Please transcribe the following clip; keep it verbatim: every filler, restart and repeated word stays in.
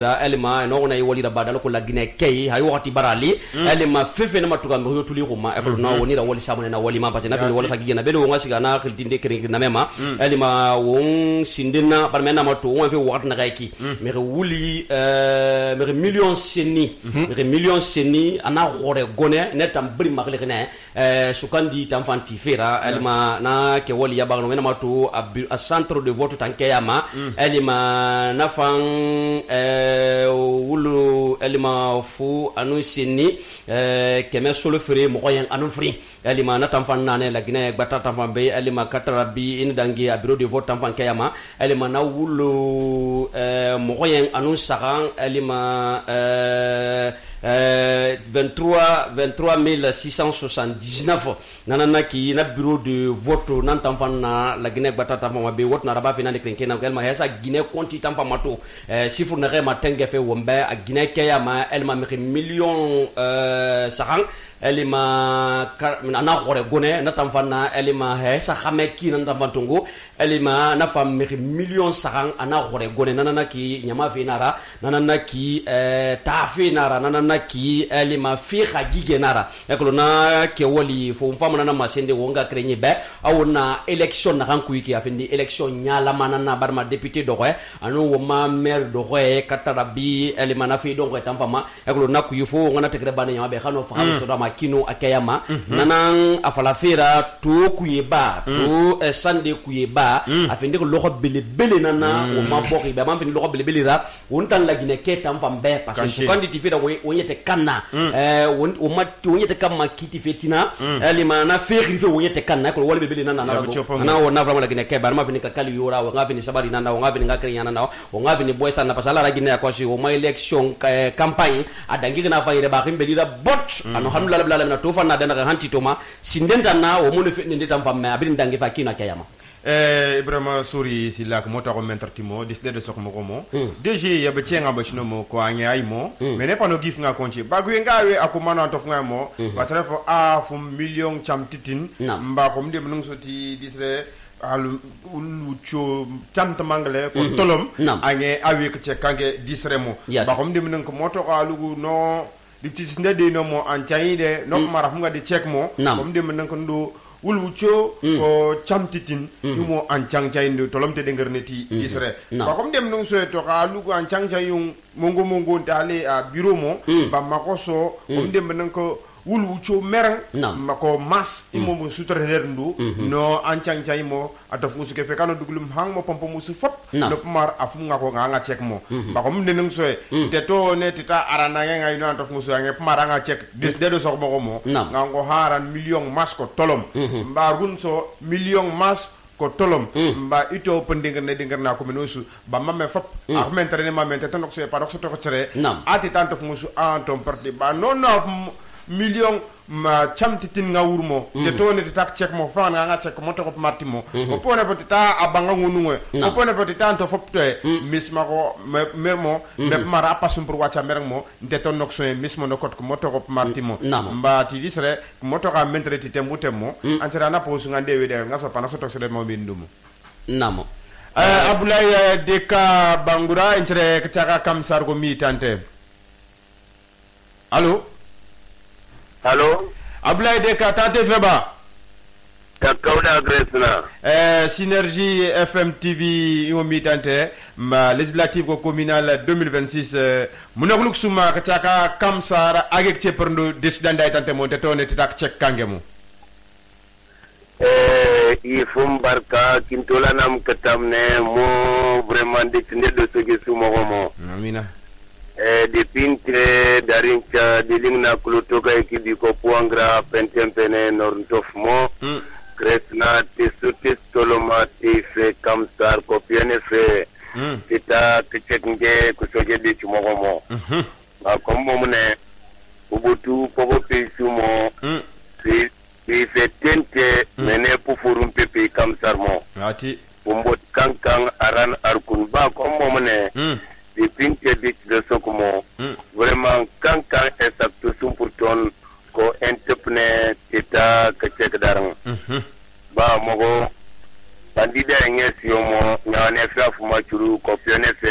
elima no na wali da badal ko la gine kay hay wakati barali elima fefe na matuka mbiyo tuli kuma e ko na woni da wali samane na wali ma parce na fi wali khagi na belo ngasi na khildinde kere na mema elima won sindina par mena matu won fe wakati na gaiki me wuli euh me million seni me million seni ana gore gone netam bri magle ne euh sukandi tamfanti fera elima na ke wali ya bagno mena matu a centre de vote tankeyama elima na fan euh wulu elima fu anu sini keme solo fere mo yan anu free elima na tamfan nane la gine gbata tamfan be elima katarabi in dangi a bureau de vote tamfan kayama elima na wulu mo yan anu saran elima vingt-trois mille six cent soixante-dix-neuf nanana ki na bureau de vote nan tamfan na la gine gbata tamfan be vote na raba fina de krenke na elma hesa gine konti tamfan mato sifur na rema tengefe wombe a gine kayama elma mi million saran elima na gore gone na tamfana elima hesa khameki na tamfantungu elima na fam mi million saran ana gore gone nanana ki nyama finara nanana ki ta finara nanana ki elima fi khagige nara ekolo na ke woli fo fam na masende wonga krenye be awona election na kan kuiki afindi election nyala manana barma député do re anu woma maire do re katarabi elima na fi do re tamfama ekolo na kuyifo ngana tekre bana nyama be khano fa so da kino akayama mm-hmm. nanan afala fera to kuyeba mm. to uh, sande kuyeba mm. afinde ko lokho bele bele nana mm. o mabokhi be man fini lokho bele bele ra wontan la gine ketam fambe parce que so kanditi fera wonyete kanna euh o matti wonyete kamma kiti fetina ali mana fekhi fe wonyete kanna ko wala bele nana na na o na vraiment la gine keba ma fini ka kali yora o ngafini sabari nana o ngafini ngakri yana na o ngafini boysa na pasala la gine ko si o ma election campagne adangi na fa ire ba khimbe dira bot ano hamdulillah na to fanna dana hanti toma sindenta na o mo fe ndeta famme abin dangi fa kina kayama eh Ibrahima Souri silak mota ko mentartimo disde de sokmo ko mo dg ya be tienga ba chino mo ko anya ay mo mais ne pano gif nga konti bagu ngawe akumana to fnga mo batra fo a fu million cham titin mba ko mde mnung soti disre alu ucho tanta mangle ko tolom anye awi ko che kange disre mo ba ko mde mnung ko moto ko alugu no di ci ndede no mo an chayide no mara fu nga di check mo ko mde mnung ko ndo wulwucho ko chamtitin yumo an changchayinde tolomte de ngerneti isre ba kom dem non so to ka lugo an changchayung mongo mongo dale a bureau mo ba makoso kom dem nan ko wulwucho merang mako mas imo mo sutre ndu no an changchay mo ataf musu ke fekano dugulum hang mo pompo musu fop no mar afu nga ko nga nga check mo ba kom dem non so te to ne tita arana nga no ataf musu nga mara nga check des de do so mo mo nga ngo haran million mas ko tolom mba gun so million mas ko tolom mba ito pendinger ne dinger na ko menosu ba mamme fop a mentre ne mamme te tonok so pa dok so to ko tsere ati tanto musu an ton parti ba non no million ma chamtitin nga wurmo te to ne tak check mo fa nga nga check mo to ko martimo o pone poti ta abanga ngunu o pone poti tanto fop to misma ko mermo be mara pasum pour wacha merang mo de to nok so mismo no kot ko mo to ko martimo mba ti disre mo to ka mentre ti tembu temmo antira na posu nga dewe de nga so pa na so to sele mo bindumo namo euh Abdoulaye Deka Bangura entre kachaka kam sargo mi tante allo Allô Abdoulaye Deka tate feba Takawda Gresna eh Synergie F M T V imo mitante ma législative ko communal deux mille vingt-six munaguluk suma kachaka kamsara agek cheperndo decidanda tante monte tone titak check kangemu eh ifum barka kintola nam katamne mo vraiment de de ce que sumo mo amina eh de pintre darincha de lingna klutoka ekibi ko puangra pentempene norntof mo kresna tesutis toloma te fe kamsar ko piene fe tita tcheknge ko soje de chumo mo ba kombo mune ubutu pobo pesumo si si fe tente mene pufurum pepe kamsar mo ati umbot kankang aran arkun ba kombo mune di pinte di de sokomo vraiment quand quand exact sum pour ton ko entrepreneur teta ka check darang ba mogo bandida ngesi mo nyane fa fu ma churu ko pione fe